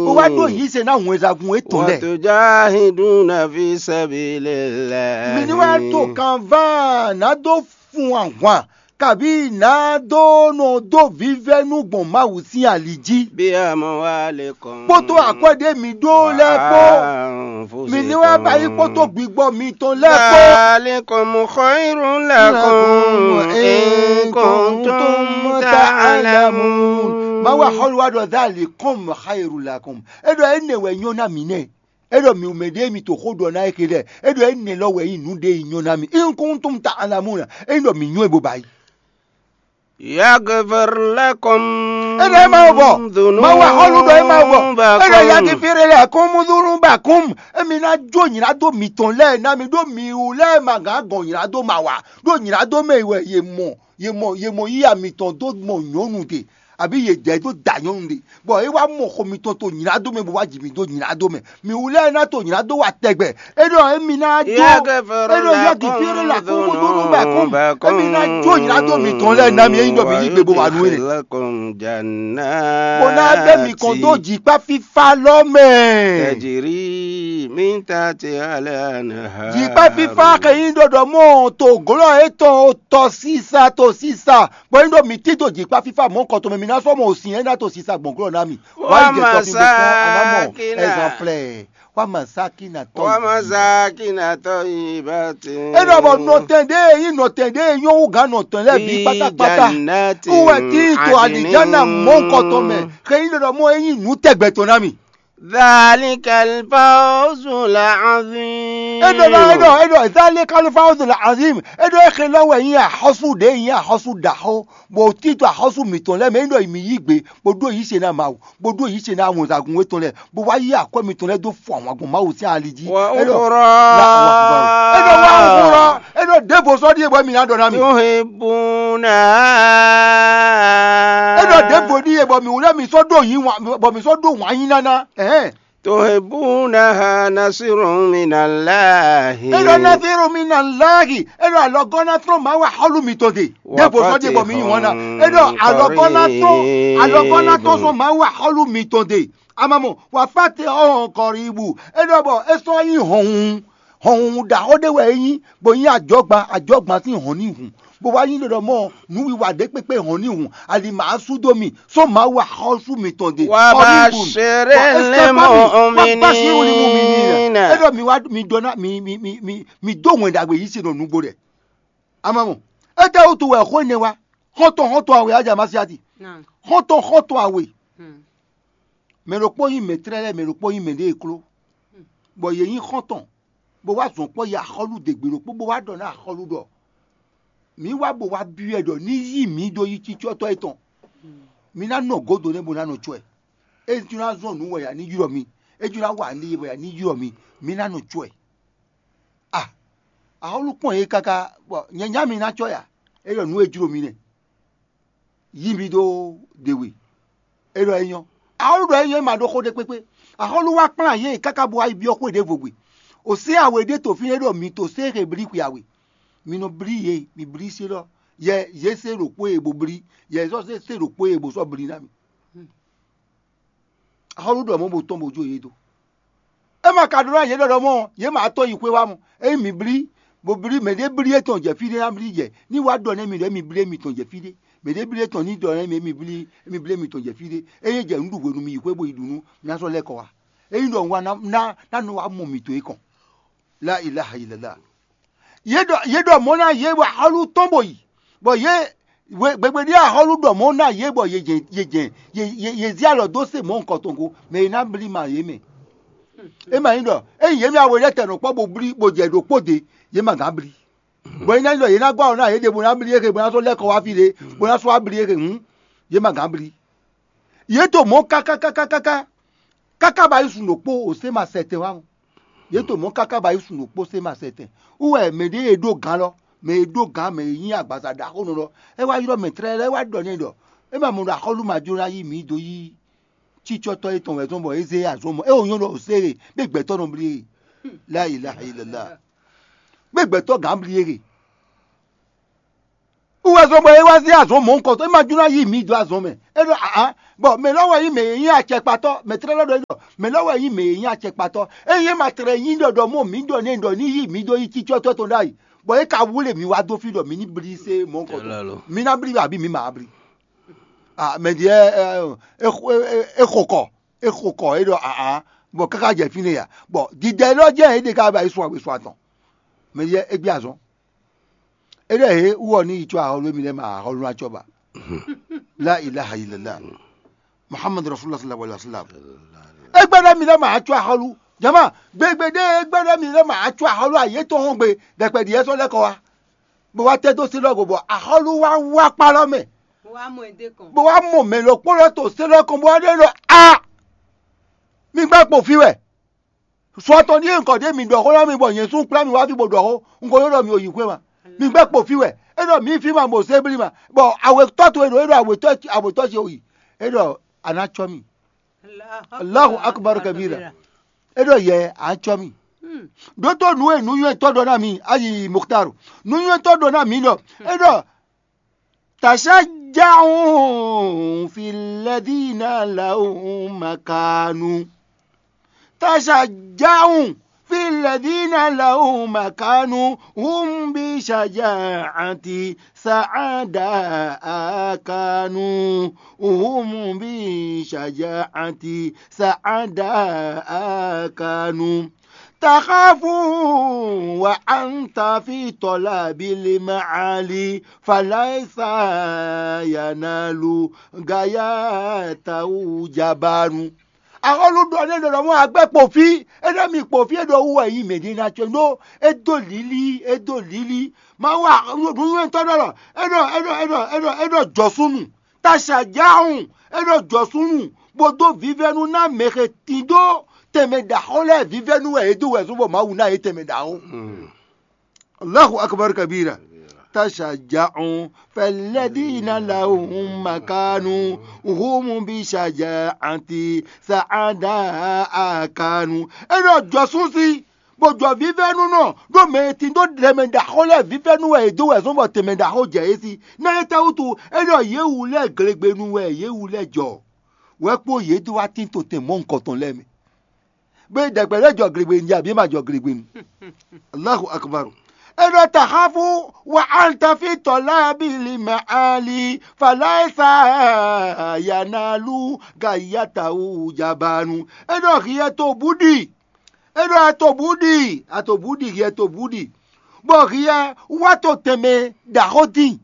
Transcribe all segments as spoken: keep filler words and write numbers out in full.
Bó wá ɖó yǐ se ná wɛnsagun etɔn lɛ́ɛ. وتجاهدون في سبيل الله. Mi ní wá to kanván ná dó fun ahwan, kabí ná dó nɔ dó vívɛ́nu gbɔn Mawu sín ali jí. بأموالكم Kpódó akwɛ́ ɖé mi ɖó lɛ́ɛ kpó. وأنفسكم. Mi ní wá ba yí kpódó gbigbɔ mitɔn lɛ́ɛ kpó. ذلكم خير لكم إن كنتم تعلمون. Mawu axɔ́lú wa ɖɔ ذلكم خير لكم. É ɖɔ énɛ́ wɛ nyɔ́ ná mǐ nɛ́. É ɖɔ mǐ mɛ ɖěe mi to xó ɖɔ ná é xelɛ́. É ɖɔ énɛ́ lɔ wɛ nyí nǔ ɖe e nyɔ́ ná mì. In kuntum ta'lamuna. É nyí ɖɔ mǐ nywɛ́ bo ba yi. يغفر لكم É ɖɔ é ma bɔ. ذنوبكم. Ma wa xɔlu ɖɔ é ma bɔ. É ɖɔ yagifiri lakum dhunubakum. Émi ná jó nyrado mitɔn lɛ́ɛ ná mi ɖó mi wú lɛ́ɛ ma gǎn gɔn nyrado ma wa. Ɖó nyrado mɛ wɛ yě mɔ yě mɔ yě mɔ yíya mitɔn dó mɔ nyɔ̌nu ɖe, abǐ yě jɛ dó da nyɔ̌nu ɖe, bɔ é wá mɔ xo mitɔn to nyrado mɛ bó wá ji mi dó nyrado mɛ. Mi wú lɛ́ɛ ná to nyrado wa tɛgbɛ. É ɖɔ émi ná jó. يغفر É ɖɔ yá لكم gifírí la kún bó dó nú bɛ kún. ذنوبكم Émi ná jó nyrado mitɔn lɛ́ɛ ná mi é nyí ɖɔ mi yí gbe bó wa nú é nɛ. ويدخلكم جنات Bó ná bɛ mi kɔn dó jǐkpá fífá lɔ mɛ. تجري من تحتها الأنهار. Jǐkpá fífá xɛ nyí ɖɔɖɔ mɔ to glɔ́ étɔn tɔ sísa to sísa. Bɔ é ɖo mǐ tito jǐkpá fífá mɔ̌ kɔtɔn mɛ, mi ná sɔ́ mɔ òsin é ná to sisa gbɔn glɔ́ ná mi. Wá yi jɛ tɔ fi bó kɔn, a ná mɔ ومساكن. Ɛzanflɛ. Wá màsákì nà tɔ. ومساكن طيبة. É ɖɔ bɔ nɔtɛn ɖé e nyí nɔtɛn ɖé e nyɔ́ wú gǎn nɔtɛn lɛ́ɛ bǐ في pátápátá. جنات Wú wɛ tí to عدن. Alìjánà mɔ̌ kɔtɔn mɛ. Xɛ nyí ɖɔɖɔ mɔ é nyí nǔ tɛgbɛ tɔn ná mi. ذلك الفوز العظيم. É ɖɔ ná é ɖɔ é ɖɔ ذلك الفوز العظيم. É ɖɔ é xelɔ́ wɛ nyí axɔ́sú ɖě nyí axɔ́sú ɖaxó, bó tito axɔ́sú mǐtɔn lɛ́ɛ mɛ é ɖɔ mǐ yí gbe, bó ɖó yǐ se ná Mawu, bó ɖó yǐ se ná wɛnsagun étɔn lɛ́ɛ, bó wá yí akwɛ́ mitɔn lɛ́ɛ dó fɔ ahwan gbɔn Mawu sín ali jí. É ɖɔ وأخرى. É ɖɔ wá wúrɔ, é ɖɔ ɖěvo sɔ́ ɖíe bɔ mǐ ná ɖɔ ná mi. تحبونها. É ɖɔ ɖěvo ɖíe bɔ mǐ wú lɛ́ɛ mǐ sɔ́ ɖó yǐ wǎn, bɔ mǐ sɔ́ ɖó wǎn yí ná ná. Ɛhɛn. تحبونها نصر من الله. É ɖɔ نصر من الله. É ɖɔ alɔgɔ́ ná tɔ́n Mawu axɔ́lú mitɔn ɖe. Ɖěvo sɔ́ ɖíe bɔ mǐ yí wǎn ná. É ɖɔ alɔgɔ́ ná tɔ́n, alɔgɔ́ ná tɔ́n sɔ́ Mawu axɔ́lú mitɔn ɖe. Amamɔ, وفتح قريب. É ɖɔ bɔ é sɔ́ nyí hɔnhun, hɔnhun ɖaxó ɖé wɛ é nyí, bó nyí ajɔgban, ajɔgban sín hɔn ní hun, bó wá nyí ɖɔɖɔ mɔ nǔwiwa ɖé kpékpé hɔn ní hun, ali ma sú dó mi, sɔ́ Mawu axɔ́sú mitɔn ɖe. وبشر Bɔ é sɛ́ fá mi, المؤمنين. وبشر المؤمنين. É ɖɔ mi wá mi ɖɔ ná mi mi mi mi mi dó wɛn ɖagbe yí se nɔ nugbo ɖɛ. Amamɔ, étɛ́ wútu wɛ xó énɛ́ wá? Xɔ́ntɔn xɔ́ntɔn awe ajá Masiati. Naam. Xɔ́ntɔn xɔ́ntɔn awe. Hmm. Mɛ ɖokpó nyí mɛ̌tlɛ́ lɛ́ɛ, mɛ ɖokpó nyí mɛɖée e kló, bɔ yě nyí xɔ́ntɔn, bó wá zɔn kpɔ́ yi axɔ́lú dě gbe ɖokpó, bó wá ɖɔ nú axɔ́lú ɖɔ: "Mǐ wá bó wá byɔ́ ɛ ɖɔ ní yí mǐ dó yí cícɔ́tɔ́ étɔn. Mi ná nɔ gǒdo nɛ́ bó ná nɔ cɔ́ ɛ. É jló ná zɔn nǔ wɛ a ní ylɔ́ mi. É jló ná wa nǔ ɖé wɛ a ní ylɔ́ mi. Mi ná nɔ cɔ́ ɛ." A, axɔ́lú kpɔ́n yě káká, bɔ nyɛ nyá mi ná cɔ́ ɛ a? É ɖɔ nǔ e jló mi nɛ́. Yí mi ɖó ɖe we. É ɖɔ é nyɔ́. Axɔ́lú ɖɔ é nyɔ́, é ma ɖó xó ɖé kpékpé. Axɔ́lú wá kplán yě káká bó wá yi byɔ́ xwé ɖěvo gbe. Ò sɛ́ awe ɖé to fínɛ́ ɖɔ mi to sɛ́ Xeblíxwe awe. Mi nɔ blí yě, mi blí sé lɔ. Yɛ yě se ɖo kpó e bó blí. Yɛ sɔ́ se se ɖo kpó e bó sɔ́ blí ná mi. Axɔ́lú ɖɔ mɔ̌ bó tɔ́n bó jó yě dó. É ma ka ɖó ná yě ɖɔ ɖɔ mɔ́, yě ma tɔ́n yi xwé wá mɔ. Ényí mi blí, bó blí, mɛ ɖé blí étɔn jɛ fí ɖé ná blí jɛ. Ní wá ɖɔ nɛ́ mi ɖɔ émi blí émitɔn jɛ fí ɖé. Mɛ ɖé blí étɔn ní ɖɔ nɛ́ mi émi blí émi blí émitɔn jɛ fí ɖé. Ényí jɛ nǔ ɖu hwenu mi yi xwé bó yi ɖu nú, mi ná sɔ́ lɛ́ kɔ wá. Ényí ɖɔ un wá ná ná ná nɔ wá mɔ mǐtɔn é kɔn. La ilaha illallah. Yě ɖɔ yě ɖɔ mɔ̌ ná yě bɔ axɔ́lú tɔn bó yi, bɔ yě gbegbe ɖíe axɔ́lú ɖɔ mɔ̌ ná yě bɔ yě jɛ yě jɛ yě yě yě zí alɔ dó se mɔ̌ nukɔn tɔn go, mɛ e ná blí ma yě mɛ. É ma nyí ɖɔ ényí yě mɛ awe lɛ́ɛ tɛ nɔ kpɔ́ bó blí bó jɛ ɖokpó de, yě ma gǎn blí. Bɔ é ná nyí ɖɔ yě ná gɔ́ alɔ ná yě ɖě bó ná blí éhe bó ná sɔ́ lɛ́ kɔ wá fí ɖé, bó ná sɔ́ wá blí éhe hǔn, yě ma gǎn blí. Yě to mɔ̌ káká káká káká káká ba yi sun ɖokpó ò sé ma sɛtɛn wá mɔ. Yě to mɔ̌ káká ba yi sun ɖokpó sé ma sɛtɛn. Wú wɛ mɛ ɖě e ɖó gǎn lɔ, mɛ e ɖó gǎn, mɛ e nyí agbaza ɖaxónɔ lɔ, é wá ylɔ́ mɛ tlɛ́ lɛ́ɛ wá ɖɔ n'i ɖɔ é ma mɔ ɖɔ axɔ́lú ma jló ná yí mǐ dó yí cícɔ́tɔ́ étɔn wɛ zɔ́n bɔ é zé azɔn mɔ é wǒ nyɔ́ ɖɔ ò sé e, bó gbɛtɔ́ nɔ blí e. La ilaha illallah. Bó gbɛtɔ́ gǎn blí e. Wú wɛ zɔ́n bɔ é wá zé azɔ̌ mɔ̌hunkɔtɔn, é ma jló ná yí mǐ dó azɔ̌ mɛ. É ɖɔ ǎ, bɔ mɛ lɔ́ wɛ nyí mɛ e nyí acɛkpatɔ́, mɛ tlɛ́ lɔ́ ɖɔ é ɖɔ mɛ lɔ́ wɛ nyí mɛ e nyí acɛkpatɔ́. Ényí é ma tlɛ nyí ɖɔ ɖɔ mɔ mǐ ɖɔ n'i ɖɔ ní yí mǐ dó yí cícɔ́tɔ́ tɔn ɖ'ayǐ, bɔ é ka wlé mǐ wá dó fí ɖɔ mǐ ní blí sé mɔ̌hunkɔtɔn. Mǐ ná blí abǐ mǐ ma blí? Mɛ ɖě é xo kɔ, é xo kɔ, é ɖɔ ǎ, bɔ káká jɛ fínɛ́ ya, bɔ didɛ élɔ́ jɛ́n é ɖe ká ba yi sun agbe sun atɔn. Mɛ ɖě é gbé azɔn. É ɖɔ hě wú ɔ ní yi có axɔ́lú émí lɛ́ɛ ma axɔ́lú ná cɔ́ ba. La ilaha illallah. Muhammad rasulullah sallallahu alaihi wasallam. É gbɛ́ ɖɔ émí lɛ́ɛ ma acɔ́ axɔ́lú. Jama, gbegbe ɖé é gbɛ́ ɖɔ émí lɛ́ɛ ma acɔ́ axɔ́lú ayé tɔn hɔn gbe ɖɛkpɛ ɖi yɛ sɔ́ lɛ́ kɔ wá. Bó wá tɛ́ dó sélɔ́ go bɔ axɔ́lú wá wá kpá lɔ mɛ. Bó wá mɔ ɛ dé kɔn. Bó wá mɔ mɛ ɖokpó lɔ to sélɔ́ kɔn bó wá ɖɔ é ɖɔ a, mi gbɛ́ kpo fí wɛ. Sɔ tɔn ɖíe un kɔ ɖě mǐ ɖɔ xó ná mi bɔ nyɛ sún kplá mi wá fí bó ɖɔ xó, un ko ɖɔ mi o yi xwé ma. Mi gbɛ́ kpo fí wɛ. É ɖɔ mǐ fí ma bɔ zé blí ma, bɔ awětɔ́ towe ɖo é ɖɔ awětɔ́ awětɔ́ ce o yi. É ɖɔ a ná cɔ́ mì. Allahu akbar kabira. É ɖɔ yɛ a cɔ́ mì. Ɖótó nǔ e nǔnywɛ́tɔ́ ɖɔ ná mi, ayi Mukhtar. Nǔnywɛ́tɔ́ ɖɔ ná mi ɖɔ é ɖɔ تشجعوا في الذين لهم مكان. تشجعوا في الذين لهم مكان. هم بشجاعة سعداء كانوا. هم بشجاعة سعداء كانوا. تخاف وأنت في طلب المعالي فليس ينال غايته جبان. Axɔ́lú ɖɔ nú é ɖɔ ɖɔ mɔ agbɛ́ kpo fí, é ɖɔ mi kpo fí, é ɖɔ wú wɛ nyí mɛ̌ ɖé ná có ɖó é dó lílí, é dó lílí. Mawu nǔnywɛ́tɔ́ ɖɔ lɔ, é ɖɔ é ɖɔ é ɖɔ é ɖɔ é ɖɔ jɔ̌súnnu. Taṣàjáhùn, é ɖɔ jɔ̌súnnu, bó dó vívɛ́nu ná mɛ he tín dó tɛnmɛ ɖaxó lɛ́ɛ vívɛ́nu wɛ é dó wɛ zɔ́n bɔ Mawu ná yě tɛnmɛ ɖaxó. Allahu akbar kabira. Taṣàjáhùn fɛlẹ́dínà làhùn màkánu hùmù bí ṣàjà àti sàádà àkánu. É ɖɔ jɔ̌sún sí, bó jɔ vívɛ́nu nɔ, ɖó mɛ e tín dó tɛnmɛ ɖaxó lɛ́ɛ vívɛ́nu wɛ è dó wɛ zɔ́n bɔ tɛnmɛ ɖaxó jɛ yě sí. Ná é tɛ́ wútu é ɖɔ yě wu lɛ́ɛ glegbenu wɛ yě wu lɛ́ɛ jɔ, wɛ kpó yě dó wá tín to tɛn mɔ̌hunkɔtɔn lɛ́ɛ mɛ. Bó ɖɛkpɛ lɛ́ jɔ glegbenu jí abǐ é ma jɔ glegbenu. Allahu akbar. É ɖɔ taxafu wa antafi tɔlá bili mɛ ali falaisa yanalu gayatawu jabanu. É ɖɔ hiɛ to búɖi. É ɖɔ a to bǔ ɖi, a to bǔ ɖi, hiɛ to bǔ ɖi, bɔ hiɛ wá to tɛnmɛ ɖaxó dín.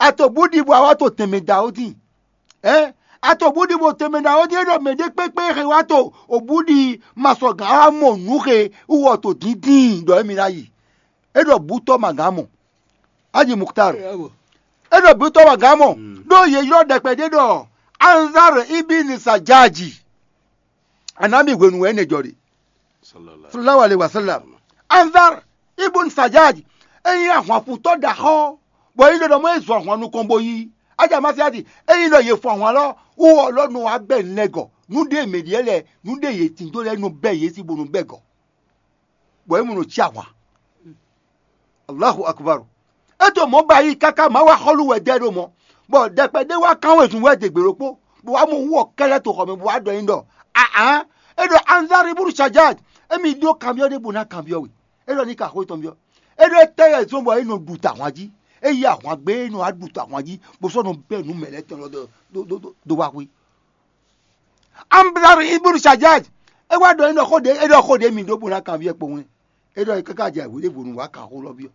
A to bǔ ɖi bɔ a wá to tɛnmɛ ɖaxó dín. Ɛ a to bǔ ɖi bɔ tɛnmɛ ɖaxó dín, é ɖɔ mɛ ɖé kpékpé xe wá to o bǔ ɖi ma sɔgǎn wá mɔ nǔ xe wú wɔ to díndín ɖɔ émí ná yi. É ɖɔ bǔtɔ́ ma gǎn mɔ. Aji Mukhtar. É ɖɔ bǔtɔ́ ma gǎn mɔ. Ɖó yě ylɔ́ ɖɛkpɛ ɖé ɖɔ Anzar ibn Sajaji. Anami hwenu wɛ énɛ́ jɔ ɖe. Sallallahu alaihi wasallam. Anzar ibn Sajaj, é nyí ahwanfutɔ́ ɖaxó, bɔ é ɖɔ mɔ é zɔ ahwan nukɔn bo yí. Aja Masiati, é nyí ɖɔ yě fɔ ahwan lɔ, wú ɔlɔnu wá bɛ nɛgɔ. Nú ɖé mɛ ɖíe lɛ, nú ɖé yě tín dó lɛ nɔ bɛ yě sí bónú bɛ gɔ. Bɔ é mɔ nɔ cí ahwan. Allahu akbar. É to mɔ̌ ba yí káká Mawu axɔ́lú wɛ dɛ ɖo mɔ̌, bɔ ɖɛkpɛ ɖé wá kán wezun wɛ degbe ɖokpó, bɔ wá mɔ wú ɔ kɛ́lɛ́ to xɔ mɛ, bɔ wá ɖɔ n'i ɖɔ: Aa, é ɖɔ Anzari búru Sajaj, émí ɖó kanbyɔ́ ɖé bó ná kanbyɔ́ we. É ɖɔ ní ka xó tɔn byɔ́. É ɖɔ étɛ́ wɛ zɔ́n bɔ é nɔ ɖu ta ahwan jí. É yí ahwan gbé, é nɔ wá ɖu ta ahwan jí, bó sɔ́ nɔ bɛ́ nǔ mɛ lɛ́ɛ tɔn lɔ dó dó dó dó wá xwé. Amblari ibnu Sajaj, é wá ɖɔ é ɖɔ xó ɖě é ɖɔ xó ɖě mi ɖó bó ná kanbyɔ́ kpowun. É ɖɔ káká jɛ hwě ɖěvo nú wá kan xó lɔ byɔ́.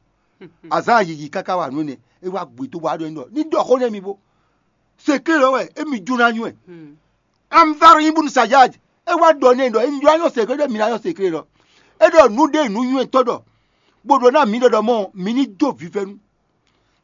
Azǎn yiyi káká wa nǔ énɛ́, é wá gbe dó wá ɖɔ é ɖɔ ní ɖɔ xó nɛ́ mi bó. Seklé lɔ wɛ émi jó ná nywɛ́. Amblari ibnu Sajaj, é wá ɖɔ nɛ ɖɔ é ní ɖó anyɔ seklé ɖɔ mi ná nyɔ seklé lɔ. É ɖɔ nǔ ɖé nǔ nywɛ́tɔ́ ɖɔ, bó ɖɔ ná mi ɖɔ ɖɔ mɔ mi ní dó vívɛ́nu.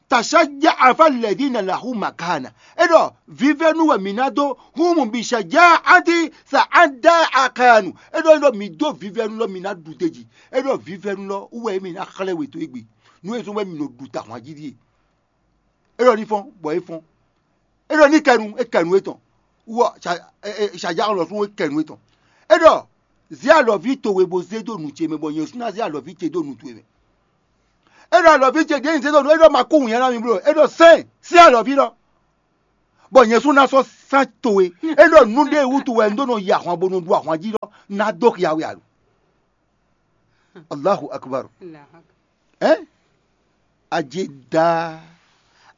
Tasaja afa lɛdina lahu makana. É ɖɔ vívɛ́nu wɛ mǐ ná dó húnmu bi saja ati sa ada akanu. É ɖɔ é ɖɔ mǐ dó vívɛ́nu lɔ mǐ ná ɖu teji. É ɖɔ vívɛ́nu lɔ wú wɛ mǐ ná xlɛ́ we dó égbé. Nú é zɔ́n wɛ mǐ nɔ ɖu ta ahwan jí ɖíe. É ɖɔ ní fɔ́n bɔ é fɔ́n. É ɖɔ ní kɛnu é kɛnu étɔn. Wú ɔ saja lɔ sún é kɛnu étɔn. É ɖɔ zé alɔví towe bó zé dó nǔ ce mɛ bɔ nyɛ sú ná zé alɔví ce dó nǔ towe mɛ. É ɖɔ alɔví ce ɖěe nyi zé ɖo nǔ, é ɖɔ ma kú wǔnyá ná mi bló, é ɖɔ sɛ́n sín alɔví lɔ, bɔ nyɛ sú ná sɔ́ sán towe. É ɖɔ nǔ ɖé wútu wɛ un ɖó nɔ yi ahwan bo nɔ ɖu ahwan jí lɔ, ná dó xia we alo. Allahu akbar. Ɛ? Ajida.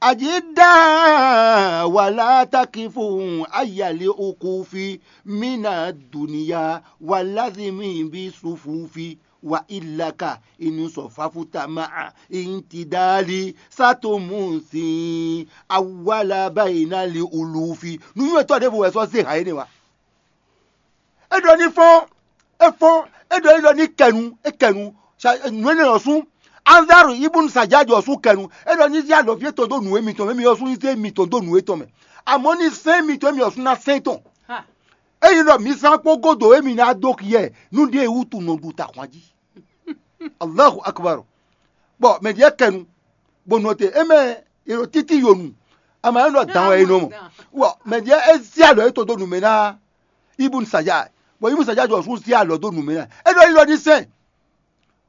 Ajida wala takifu ayali ukufi mina duniya walazimi bi sufufi wa ilaka inu sɔfafuta ma'a intidali satumusi awala bayina li ulufi. Nuyɔtɔ ɖěvo wɛ sɔ zé ha énɛ́ wa. É ɖɔ ní fɔ́n, é fɔ́n, é ɖɔ ní ɖɔ ní kɛnu, é kɛnu. Nǔ énɛ́ ɔ́ sú, Anzaru ibun Sajadi ɔ́ sú kɛnu. É ɖɔ ní zé alɔví étɔn dó nǔ émítɔn mɛ, émí ɔ́ sú ní zé émítɔn dó nǔ étɔn mɛ. Amɔ̌ ní sɛ́n émítɔn émí ɔ́ sú ná sɛ́n tɔn. Ényí ɖɔ mi zán kpó gúdo émí ná dó hyɛ nú ɖěe wútu nɔ ɖu ta hwan jí. Allahu akbar. Bɔ mɛ ɖíe kɛnu, bó nɔ te, é mɛ è ɖo títí yonu, ama é nɔ dán wɛ é nɔ mɔ. Wɔ mɛ ɖíe é zé alɔ é to dó nǔ mɛ ná Ibun Saja, bɔ Ibun Saja jɔ sú zé alɔ dó nǔ mɛ ná. É ɖɔ yi lɔ ní sɛn.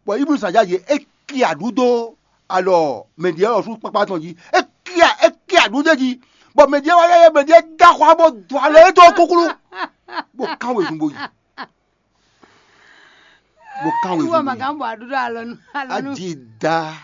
Bɔ Ibun Saja yě é ki aɖú dó alɔ mɛ ɖíe ɔ́ sú kpákpá tɔn jí. É ki a é ki aɖú dó jí. Bɔ mɛ ɖíe wá yɛ mɛ ɖíe dá xɔ bó dó alɔ é tó kúkúrú. Bó kán wezun bó yi. Bó kán wezun bó yi. Wɔ màgán bɔ aɖúɖɔ alɔnu alɔnu. Ajida.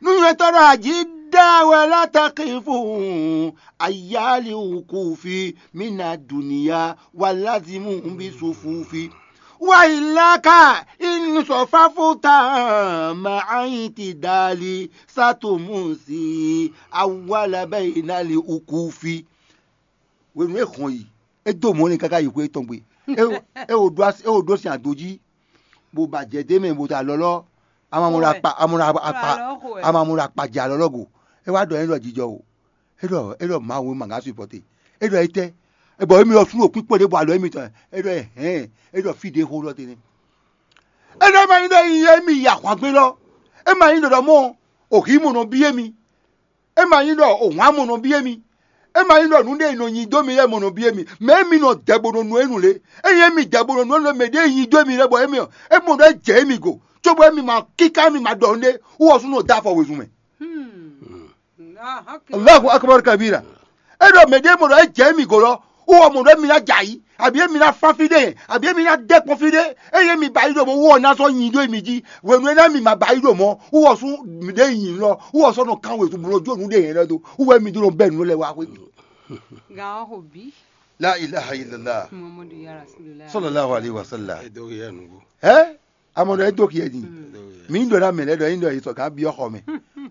Nuyɔtɔrɔ ajida wala takifu ayali ukufi mina duniya walazimu bi sufufi. Wa ilaka in sɔfafuta ma aiti dali satumusi awala bayina li ukufi. Hwenu e hɔn yi, é dó mɔ̌ n'i káká yi xwé tɔn gbe. É é wo ɖó asi é wo ɖó sin ado jí, bó ba jɛ d'é mɛ bó ta lɔlɔ́, a ma mɔ ɖo akpa a mɔ ɖo akpa a ma mɔ ɖo akpa jɛ alɔlɔ́ go. É wá ɖɔ é ɖɔ jijɔ o. É ɖɔ é ɖɔ Mawu ma ŋá supɔte. É ɖɔ étɛ́? É bɔ émi ɔ́ sú ɖo kpíkpɔ́ ɖé bɔ alɔ émitɔn. É ɖɔ hɛ̌n. É ɖɔ fí ɖé xó ɖɔ tɛnɛ. É ɖɔ é ma nyí ɖɔ nyi émi yi ahwangbé lɔ. É ma nyí ɖɔ ɖɔ mɔ òhǐ mɔ nɔ byɔ́ émi. É ma nyí ɖɔ òhwan mɔ nɔ byɔ́ émi. É ma nyí ɖɔ nǔɖé e nɔ nyi dó mi lɛ́ɛ mɔ nɔ byɔ́ émi. Mɛ émi nɔ dɛ bo nɔ nu énu lě. Ényí émi dɛ bo nɔ nu énu lě, mɛ ɖěe nyi dó émi lɛ́ɛ bɔ émi ɔ́, é mɔ ɖɔ é jɛ émi go, cóbɔ émi ma kíká émi ma ɖɔ nǔɖé, wú ɔ́ sú nɔ dó afɔ wezun mɛ. Allahu akbar kabira. É ɖɔ mɛ ɖěe mɔ ɖɔ é jɛ émi go lɔ, wú ɔ́ mɔ ɖɔ émi ná jɛ ayǐ, abǐ émi ná fán fí ɖé, abǐ émi ná dɛ́ kpɔ́n fí ɖé, ényí émi ba yí ɖo mɔ, wú ɔ́ ná sɔ́ nyi ɖó émi jí. Hwenu énɛ́ mi ma ba yí ɖo mɔ, wú ɔ́ sú mi ɖěe nyi lɔ, wú ɔ́ sɔ́ nɔ kán wezun bo nɔ jó nǔɖé nyɛ lɛ́ɛ dó, wú wɛ mi ɖó nɔ bɛ́ nǔ lɛ́ɛ wá xwé. Gan ɔ́ xo bǐ. La ilaha illallah. Muhammadu ya rasulullah. Sallallahu alaihi wasallam. Ɛ? Amɔ ɖɔ é dó xyɛ din. Mǐ ɖɔ ná mɛ lɛ́ɛ ɖɔ é ɖɔ yě sɔ gǎn byɔ́ xɔ mɛ,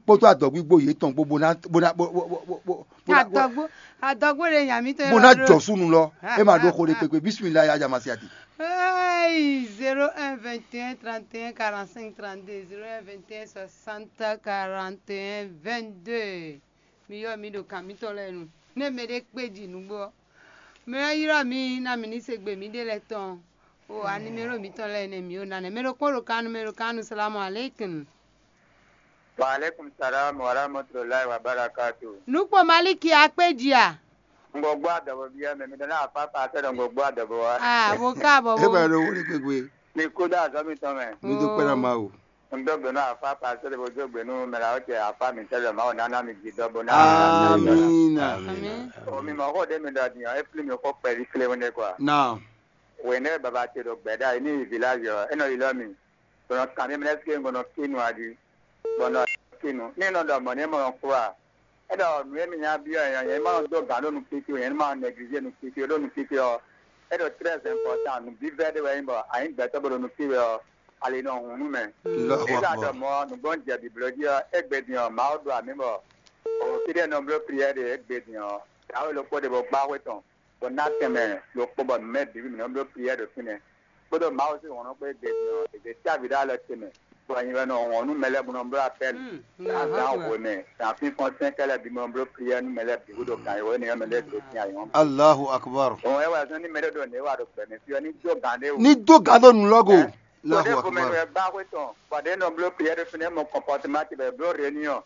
kpódó adɔgbígbó yětɔn kpó bó ná bó ná bó bó bó bó bó ná adɔgbo adɔgbo ɖe nya mi tɔn bó ná jɔ súnu lɔ. É ma ɖó xó ɖé kpékpé. Bismillah ya jamasiati. Hey, zéro un vingt et un trente et un quarante-cinq trente-deux, zéro un vingt et un soixante quarante et un vingt-deux. Mi yɔ mi ɖo kan mitɔn lɛ́ɛ nu. Ne mɛ ɖé kpé ji nǔgbó ɔ́, mɛ ɔ́ ylɔ́ mi ná mi ní se gbe mǐɖée lɛ́ɛ tɔn. O animelo mǐtɔn lɛ́ɛ nɛ́ mǐ ɖo ná nɛ́. Mɛ ɖokpó ɖo kan nu, mɛ ɖo kan nu, salamu aleykum. Wa aleykum salam wa rahmatulahi wa barakatu. Nukpɔ Maliki akpé ji a? Ngɔgbɔ adɔbɔ bia mɛ mi dana afa pa sɛ dɔ ngɔgbɔ adɔbɔ wa. Ah, bo ka bɔ bo. E ba ɖo wuli gbegbe. Mi kú dá azɔ mi tɔn mɛ. Mi dúpẹ́ ná Mawu. N dó gbe nú afa pa sɛ dɔ bo dó gbe nú mɛ la o cɛ afa mi sɛ dɔ Mawu nana mi ji dɔ bo na. Amina. Amin. O mi mɔ xó ɖe mi ɖɔ diyan e fli mi xó kpɛví kléwún ɖe kwa. Naam. Wěnɛ́ baba ce ɖo gbɛ̌ɖá yi ní yi village ɔ́, é nɔ yi lɔ mi. Bɔ nɔ kan mì mlɛ́ fí e un ko nɔ kí nu a jí, bɔ nɔ kí nu. Ní nɔ ɖɔ mɔ̌ n'i mɔ nɔ kú a? É ɖɔ nǔ e mi nya byɔ́ ɛ ɔ́, nyɛ ní ma nɔ dó gǎn ɖó nukínkí ó, nyɛ ní ma nɔ nɛglizé nukínkí ó, ɖó nukínkí ɔ́, é ɖo très important, nǔvívɛ́ ɖé wɛ é nyí bɔ a nyǐ gbɛtɔ́ bó ɖo nukí wɛ ɔ́, ali nɔ hun nú mɛ. Allahu Akbar. É ka ɖɔ mɔ̌ nǔgbó un jɛ bǐbló jí ɔ́, égbé din ɔ́, Mawu ɖo amǐ bɔ o fí ɖé nɔ bló prière ɖe égbé din ɔ́, dǎwe ɖokpó ɖé bó gbá xwé tɔn, bó ná tɛnmɛ ɖokpó bɔ mǐ mɛ bǐ mǐ nɔ bló prière ɖo fínɛ́. Kpódó Mawu sín hlɔ̌nhlɔ́n kpó e gbe din ɔ́, è ɖe cyávi ɖó alɔ ce mɛ, bɔ nyi wɛ nɔ hlɔ̌n nú mɛ lɛ́ɛ bó nɔ bló apɛ́li. Azǎn hwemɛ, zǎn fínfɔ́n sɛ́nkɛ́ lɛ́ɛ bǐ bó nɔ bló prière nú mɛ lɛ́ɛ bǐ gúdo gǎn e wɛ énɛ́ ɔ́ mɛ lɛ́ɛ ɖo dín ayǐ ɔ́. Allahu Akbar. Òun wɛ wɛ zɔ́n ní mɛ ɖé ɖo nǔ e wa ɖo gbɛ mɛ fí ɔ́ ní dó gǎn ɖé wú. Ní dó gǎn ɖó nǔ lɔ go. Ɛ? Allahu Akbar. Kpɔdé ko mɛ wɛ gbá xwé tɔn, bɔ ɖě nɔ bló prière ɖo fínɛ́ mɔ kɔnpɔtema ce bɔ è bló réunion.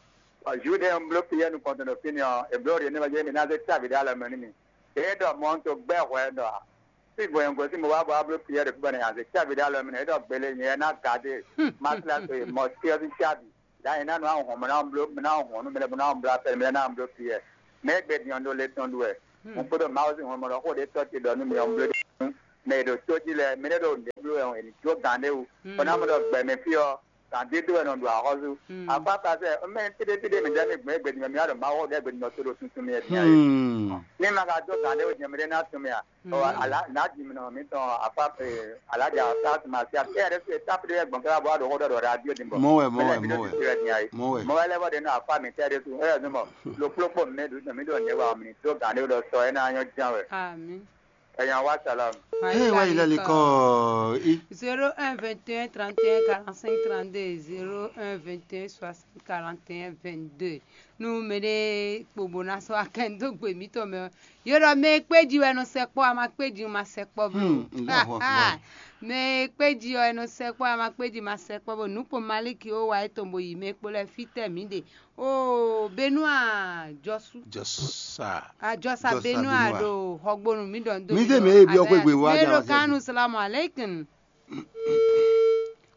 Bɔ Jude e un bló piyɛ nukɔntɔn ɖo fínɛ́ ɔ́, è bló ɖě nɛ́ wɛ jɛ́n mǐ ná zé cávi ɖó alɔ mɛ nú mì. Yě ɖɔ mɔ̌ un to gbɛ́ hwɛ ɖɔ ǎ. Fí gbɔn nyɛ gosín bó wá bɔ wá bló piyɛ ɖo fí bɔ nɛ nya zé cávi ɖó alɔ mɛ nú é ɖɔ gbele nyɛ ná gadé másíláso e mɔ̌ cyɔ sín cávi. Dǎ yě ná nɔ ahɔn mɔ ná bló ná hɔn nú mɛ lɛ́ɛ bó ná bló afɛ mɛ lɛ́ɛ ná bló fí wɛ. Mɛ e gbɛ din ɔ́ ɖó lé tɔn ɖu wɛ. Un kpódó Mawu sín hɔnmɔ ɖɔ xó ɖé tɔ́ ce ɖɔ nú mi ɔ́ bló ɖe. Mɛ e ɖo tó jí lɛ́ɛ, mɛ ɖé ɖo nǔɖé bló wɛ ɔ́, è nǐ jó gǎn ɖé wú. Bɔ ná mɔ ɖɔ gbɛ mɛ fí ɔ́, gǎn dídó wɛ nɔ ɖo axɔ́sú. Akpákpá sɛ mɛ téɖétéɖé mɛ ɖɛ́ mi gbɔn égbé din mɛ mi wá ɖo Mawu ɖɛ́ gbé din ɔ́ tó ɖo tuntun mɛ din ɔ́ é. Ní ma ka dó gǎn ɖé wú din ɔ́, mɛ ɖé ná tun mɛ a? Ɔ, ala nǎ ji mi nɔ mi tɔn afa alaja sa ma si a tɛ ɖe se tap ɖe gbɔn kɛ bɔ aɖo xɔ ɖɔ ɖɔ radio din bɔ. Mɔ wɛ, mɔ wɛ, mɔ wɛ. Mɔ wɛ. Mɔ wɛ lɛ bɔ ɖe nɔ afa mi tɛ ɖe su ɛ nɔ mɔ lo kplokpo mi ɖu mi ɖo ne wa mi do gan ɖe ɖɔ sɔ ɛ na nyɔ jan wɛ. Ami. Ɛ yan wa salam. Ee, wa yi lali kɔ i. Zéro un vingt et un trente et un quarante-cinq trente-deux, zéro un vingt et un soixante quarante et un vingt-deux. Nú mɛɖé kpo bó ná sɔ́ akɛn dó gbe mǐtɔn mɛ ɔ́, yě ɖɔ mɛ e kpé jí wɛ nɔ sɛkpɔ́, a ma kpé jí ma sɛkpɔ́ bló. Hmm, Allahu Akbar. Mɛ e kpé jí ɔ́, è nɔ sɛkpɔ́, a ma kpé jí ma sɛkpɔ́ bló. Nǔ kpɔn Maliki ó wa é tɔn bo yi mɛ kpo lɛ́ɛ fítɛ́ mǐ ɖe. Oo, Benua jɔsú. Jɔsa. Ajɔsa Jɔsa Benua Benua. Ɖo xɔgbonu mǐ ɖɔ nú Mí dé mɛ e byɔ́ xwé gbe wá mɛ ɖo jama sɛ́ kanu gbe. Salamu alaikum.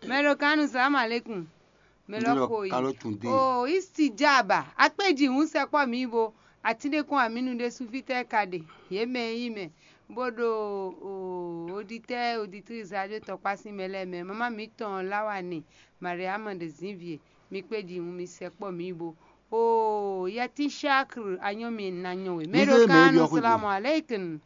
Mɛ ɖo kanu salamu alaikum. Mɛ Ndé lɔ lɔ ko yi. Kalo tun dé. O istijaba. Akpéji hun sɛkpɔ mi bo. Atinde kɔn aminu ɖe sufitɛ ka ɖe. Ye mɛ yi mɛ. Bo ɖo o oditɛ oditri radio tɔkpa sin mɛ lɛ mɛ. Mama mi tɔn lawa ne. Mariama de zinvie. Mi kpéji hun mi sɛkpɔ mi bo. O yɛtin shakr anyɔ mi na nyɔ we. Mɛ Ndé ɖo mɛ kanu byɔ́ xwé gbe. Salamu alaikum.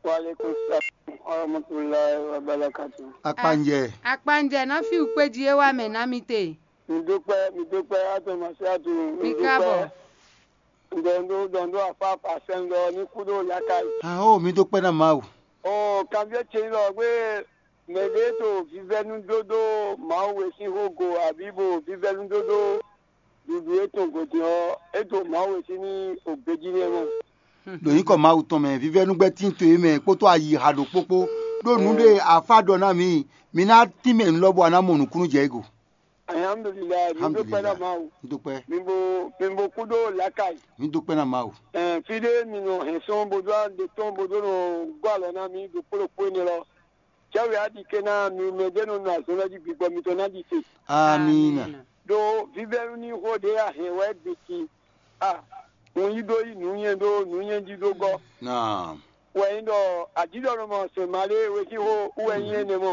Wa alaikum salam wa rahmatullahi wa barakatuh. Akpanjɛ. Akpanjɛ ná fi wukpé jí é wá mɛ ná mi te. Mi dúpẹ́, mi dúpẹ́, atɔmọ̀sí àtò, mi Mi dúpẹ́. Káàbọ̀. Ǹdọ̀ndó, dọ̀ndó àfa pàṣẹ ńlọ ní kúdó lákàyè. Aho, mi dúpẹ́ ná Mawu. O, kanbyɔ́ ce lɔ gbé mɛɖé to vívɛ́núdódó Mawu e sín xó go abǐ bo vívɛ́núdódó ɖuɖu e tɔn gɔ̌ din ɔ́, é ɖo Mawu e sín ní ògbéjí nɛ́ mɔ. Ɖo nyǐkɔ Mawu tɔn mɛ, vívɛ́núgbɛ́ tín to e mɛ kpódó ayixa ɖokpó kpó. Ɖó nǔ ɖé afá ɖɔ ná mǐ, mi ná tínmɛ nǔ lɔ bɔ a ná mɔ nǔkúnnú jɛ égo. Alhamdulilayi, mi dúpẹ́ ná Mawu. Mi dúpẹ́. Mi bo mi bo kú ɖó làákàyè. Mi dúpẹ́ ná Mawu. Ɛn, fí ɖé mi nɔ hɛn sɔn bo dó ɖe tɔn bo dó nɔ gɔ́ alɔ ná mi ɖo kplɔ́kpó énɛ́ lɔ. Cɛ́wé á ɖi ké ná mi mɛ ɖé nɔ nɔ azɔn lɔ jí gbigbɔ mitɔn ná ɖi te. Amina. Ɖó vívɛ́nu ní xó ɖé a hɛn wɛ gbe sin a un yí ɖó yí nǔnywɛ́ ɖó nǔnywɛ́ jí ɖó gɔ́. Naam. Wɛ nyí ɖɔ ajíɖɔnɔmɔ sɛn malé wesíxó wɛ nyí énɛ́ mɔ.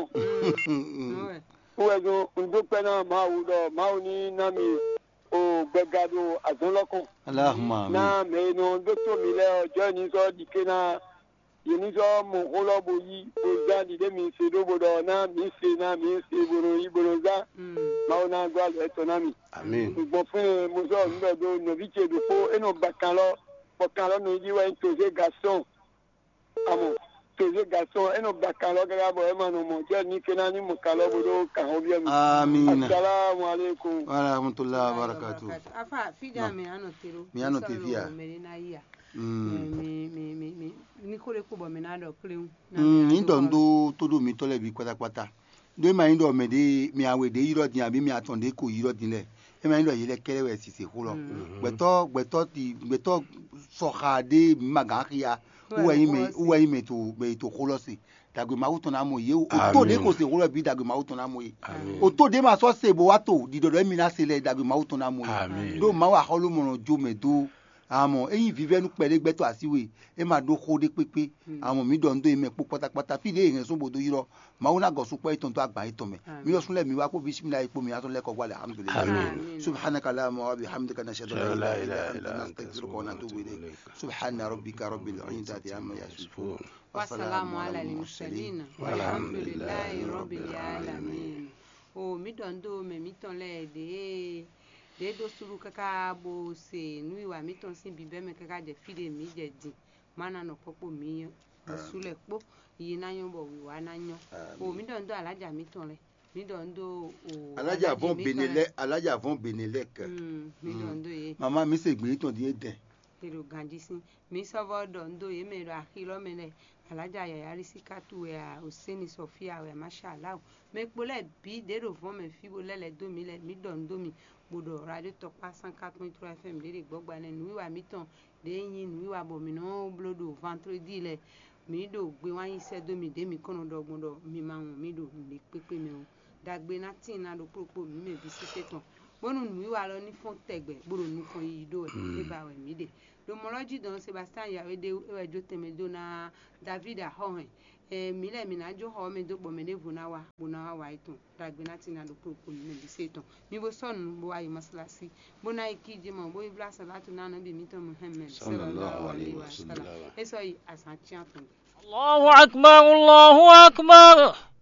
Wɛ zɔn un dó kpɛ́ ná Mawu ɖɔ Mawu ní ná mi o gbɛga ɖo azɔn lɔ kɔn. Allahumma amin. Ná mɛ e nɔ ɖótó mi lɛ́ɛ ɔ́, jɔ́ ní sɔ́ ɖi ké ná yě ní sɔ́ mɔ xó lɔ bo yí bo zán ɖiɖé mi se ɖó bo ɖɔ ná mǐ se ná mǐ se bo nɔ yí bo nɔ zán. Mawu ná gɔ́ alɔ étɔn ná mi. Amin. Gbɔn fún e mo sɔ́ nǔ ɖɔ dó nɔví ce ɖokpó é nɔ ba kan lɔ, bɔ kan lɔ nɔ yi ɖi wɛ nyí Tozé Gasɔn. Amɔ Tozé Gasɔn é nɔ ba kan lɔ káká bɔ é ma nɔ mɔ jɛ ní ké ná ní mɔ kan lɔ bo ɖó kan xó byɔ́ mi. Amina. Asalamu alaikum. Wa rahmatullahi wa barakatuh. Afa fídà mi ànɔ tèrò. Mi ànɔ tè fíà. Mɛ ní ná yíyà. Mm. Mi mi mi mi ní kó lè kó bɔ mi ná ɖɔ kléwu. Mm, ní dɔ ndo tó ɖo mi tɔ lɛ bi kpata kpata. Ɖó é ma nyí ɖɔ mɛ ɖé mɛ awe ɖé ylɔ́ din abǐ mɛ atɔn ɖé ko ylɔ́ din lɛ. É ma nyí ɖɔ yě lɛ́ kɛ́ɖɛ́ wɛ sise xó lɔ. Gbɛtɔ́ gbɛtɔ́ ti gbɛtɔ́ sɔxa ɖé mǐ ma gǎn xia. Wú wɛ nyí mɛ wú wɛ nyí mɛ to mɛ to xó lɔ se. Dagbe Mawu tɔn ná mɔ yě o. Oto ɖé ko se xó lɔ bǐ dagbe Mawu tɔn ná mɔ yě. Oto ɖé ma sɔ́ se bó wá to ɖiɖɔ ɖɔ émi ná se lɛ dagbe Mawu tɔn ná mɔ yě. Ɖó Mawu axɔ́lómɔ nɔ jó mɛ dó. Amɔ é nyí vívɛ́nú kpɛɖé gbɛtɔ́ así we, é ma ɖó xó ɖé kpékpé. Amɔ mǐ ɖɔ nǔ dó yě mɛ kpó kpátákpátá fí ɖě è hɛn sún bó dó ylɔ́. Mawu ná gɔ sukpɔ́ yětɔn dó agban yětɔn mɛ. Mǐ ɖɔ sún lɛ́ɛ mǐ wá kpó bísímìlá yě kpó mǐ wá tɔn lɛ́ kɔ gbá lɛ alhamdulilayi. Subhanaka Allahumma wa bihamdika nashhadu an la ilaha illa anta nastaghfiruka wa natubu ilayk. Subhana rabbika rabbil izzati amma yasifun. Wasalamu ala al-mursalin. Walhamdulilayi rabbil alamin. O mǐ ɖɔ nǔ dó mɛ mǐtɔn lɛ́ɛ ɖě ɖě ɖó súɖú káká bó se nǔwiwa mǐtɔn sín bǐbɛ́mɛ káká jɛ fí ɖé mǐ jɛ din. Má ná nɔ kpɔ́kpó mǐ bó sú lɛ́ɛ kpó yi ná nyɔ́ bɔ wǐwá ná nyɔ́. O mǐ ɖɔ nǔ dó alájà mǐtɔn lɛ́ɛ. Mǐ ɖɔ nǔ dó o Alájà vɔn Benelɛ, alájà vɔn Benelɛ kɛ. Mǐ ɖɔ nǔ dó yě. Mama mi se gbě tɔn din edɛn. Te ɖo ganjí sín. Mǐ sɔ́ vɔ́ ɖɔ nǔ dó yě mɛ e ɖo axi lɔ mɛ lɛ́ɛ. Alájà yǎyá ɖi sí kátu wɛ a, Oséni Sɔfía wɛ a, máṣáláhu. Mɛ kpo lɛ́ɛ bǐ ɖě ɖo vɔ̌n mɛ fí bó lɛ́ lɛ̌ dó mǐ lɛ́ɛ, mǐ ɖɔ nǔ dó mi, bó ɖɔ Radio Tɔkpá cent quatre point trois F M ɖě ɖe gbɔ́gbá nɛ́ nǔwiwa mǐtɔn ɖě nyí nǔwiwa bɔ mǐ nɔ bló ɖo vendredi lɛ́ɛ. Mǐ ɖo gbe wán yí sɛ́ dó mi ɖě mǐ kɔn nɔ ɖɔ gbɔn ɖɔ mi ma wɔn mǐ ɖo nǔɖé kpékpé mɛ ó. Dagbe ná tíin ná ɖokpó ɖokpó mǐ mɛ bǐ sésé tɔn. bónú nǔwiwa lɔ ní fɔ́n tɛgbɛ bó ɖo nukɔn yiyi ɖó wɛ. É ba wɛ mǐ ɖe. Ɖo mɔ lɔ jí dɔn Sebastian Yawédé é wɛ jó tɛnmɛ dó ná David axɔ́hɛn. Mǐ lɛ́ɛ mǐ ná jó xɔ ɔ́ mɛ dó bɔ mɛ ɖěvo ná wá bó ná wá wa étɔn ɖagbe ná tina ɖo kplokplo nú mɛ bǐ se tɔn. Mi bo sɔ́ nǔ bo wá yi mɔsálásí, bó ná yi kí jɛ mɔ bó yi blá salatu ná nɔbí mǐtɔn Muhammed sallallahu alaihi wasallam. É sɔ́ yi azǎn cyán tɔn gbe. Allahu akbar, Allahu akbar.